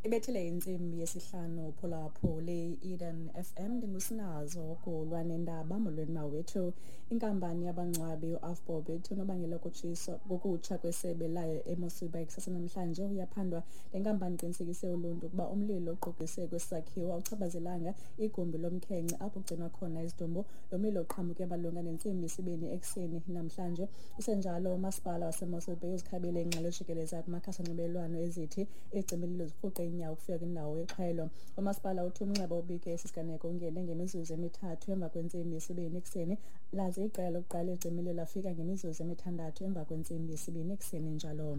Ibethile intsimbi yesihlanu phulaphuli Eden FM, ndingusinazo kulwa nendaba. Molweni mawethu. Inkampani yabangcwabi uAvbob ithi unobangela wokutshiswa kokutsha kwesebe layo eMossel Bay kusasa namhlanje uyaphandwa. Le nkampani iqinisekise uluntu ukuba umlilo oqukise kwesi sakhiwo awuchaphazelanga igumbi lomkhenkce apho kugcinwa khona izidumbu. Lo mlilo uqhamuke malunga nentsimbi yesibini ekuseni namhlanje. Kusenjalo, umasipala waseMossel Bay uzikhabile iingxelo ejikeleza kumakhasi onxibelelwano ezithi izicimililo zirhuqe iinyawo ukufika kwindawo yexhwayelo. Umasipala uthi umnxeba obike esi siganeko ungene ngemizuzu emithathu emva kwentsimbi yesibini ekuseni, laze iqela lokuqala lezicimililo lafika ngemizuzu emithandathu emva kwentsimbi yesibini ekuseni njalo.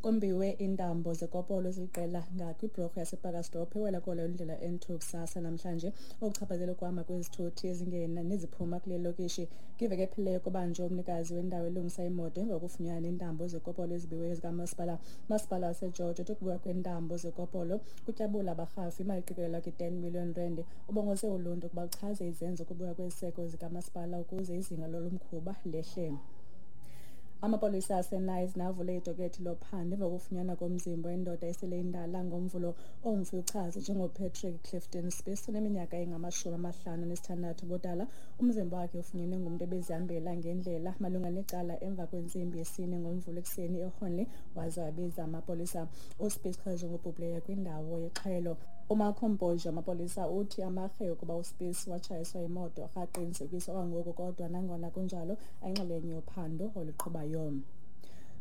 Kombiwe iintambo zekopolo eziliqela ngakwiblorho yasePacaltsdorp ewela kolo indlela N2 kusasa namhlanje, okuchaphazela ukuhamba kwezithuthi ezingena neziphuma kule lokishi. Kwiveki ephelileyo kubanjwe umnikazi wendawo elungisa imoto emva kokufunyanwa neentambo zekopolo ezibiweyo zikamasipala. Umasipala waseGeorge uthi ukubiwa kweentambo zekopolo kutyabula abarhafi imali eqikelelwa kwi-10 million rand. Ubongoze uluntu ukuba luchaze izenzo zokubiwa kweziseko zikamasipala ukuze izinga lolu mkhuba lehle. Amapolisa aseKnysna avule idokethi lophando emva kokufunyanwa komzimba wendoda esele indala ngoMvulo. Umfi uchazwe njengoPatrick Clifton Spies, oneminyaka engama-56 ubudala. Umzimba wakhe ufunyenwe ngumntu ebezihambela ngendlela malunga necala emva kwentsimbi yesine ngoMvulo ekuseni eHornley, waze wabiza amapolisa. USpies uchazwe ngobhubhileyo kwindawo yexhwayelo. UMarco Mpoji wamapolisa uthi amarhe ukuba uSpies watshayiswa yimoto akaqinisekiswa kwangoku, kodwa nangona kunjalo ayinxalenye yophando oluqhubayo.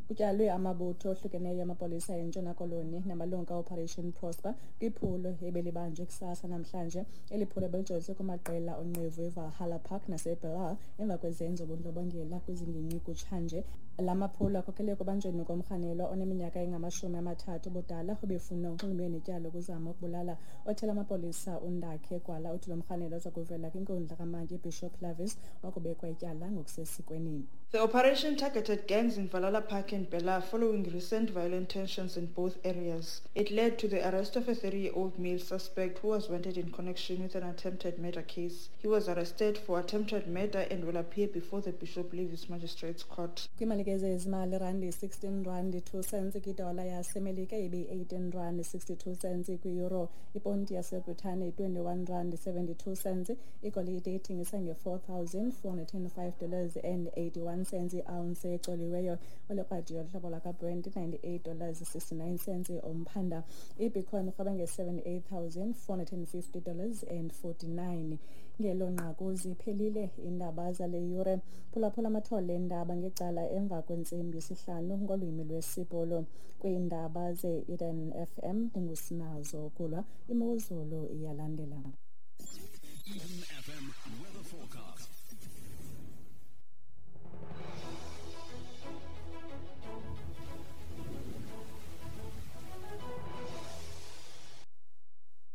Kutyalwe amabutho ohlukeneyo amapolisa eNtshona Koloni namalungu kaOperation Prosper kwiphulo ebelibanjwe kusasa namhlanje. Eli phulo belijolise kumaqela onqevu eValhalla Park naseBelhar emva kwezenzo bundlobongela kwizingingqi kutshanje. La maphulo akhokelele ekubanjweni komrhanelwa oneminyaka engama-30 ubudala obefuna unxulumene netyala lokuzama ukubulala. Othela amapolisa uNdakhe Gwala uthi lo mrhanelwa uza kuvela kwinkundla kamantyi iBishop Lavis wakubekwa ityala ngokusesikweni. The operation targeted gangs in Valhalla Park and Bela following recent violent tensions in both areas. It led to the arrest of a 30-year-old male suspect who was wanted in connection with an attempted murder case. He was arrested for attempted murder and will appear before the Bishop Lavis Magistrates Court. Kwimali ke zezimali, randi 16 rand 2 cents kwidola yaseMelika, ibe-18 rand 62 cents kwi-euro, iponti yaseBritane i-21 rand 72 cents. Igolide ithengisa nge-$4,405 and 81 cents i-ounce ecoliweyo. Olekrwadi yohlobo lwakaBrent, $98 69 cents umphanda. Ibitcoin irhweba nge-$78,450 and 49. Ngelo nqaku ziphelile iindaba zale yure. Phulaphula amathole eendaba ngecala emva kwentsimbi yesihlanu ngolwimi lwesiBhulu. Kwiindaba ze-Eden FM, ndingusinazo kulwa. Imozulu iyalandela. Eden FM weather forecast.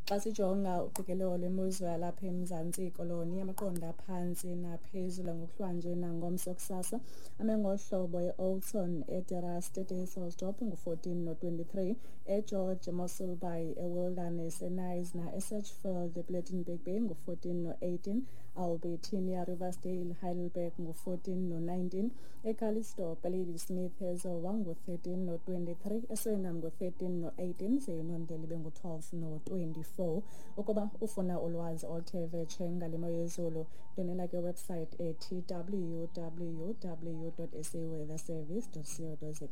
Xa sijonga uqikelelo lwemozulu yalapha eMzantsi Koloni, amaqondo aphantsi naphezulu ngokuhlwanje nangomso kusasa ame ngohlobo: e-Oudtshoorn, eDeRust, eDysselsdorp ngu-14 no-23, eGeorge, eMossel Bay, eWilderness, eKnysna, eSedgefield, ePlettenberg Bay ngu-14 no-18, Albertinia, Riversdale, Heidelberg ngu-14 no-19, eCalitzdorp, eLadysmith, eZowa ngu-13 no-23, eSuriname ngu-13 no-18, ze iNondeli ibe ngu-12 no-24. Ukuba ufuna ulwazi oluthe vetshe ngale mo yezulu, ndwendwela kwiwebsite ethi www.saweatherservice.co.za.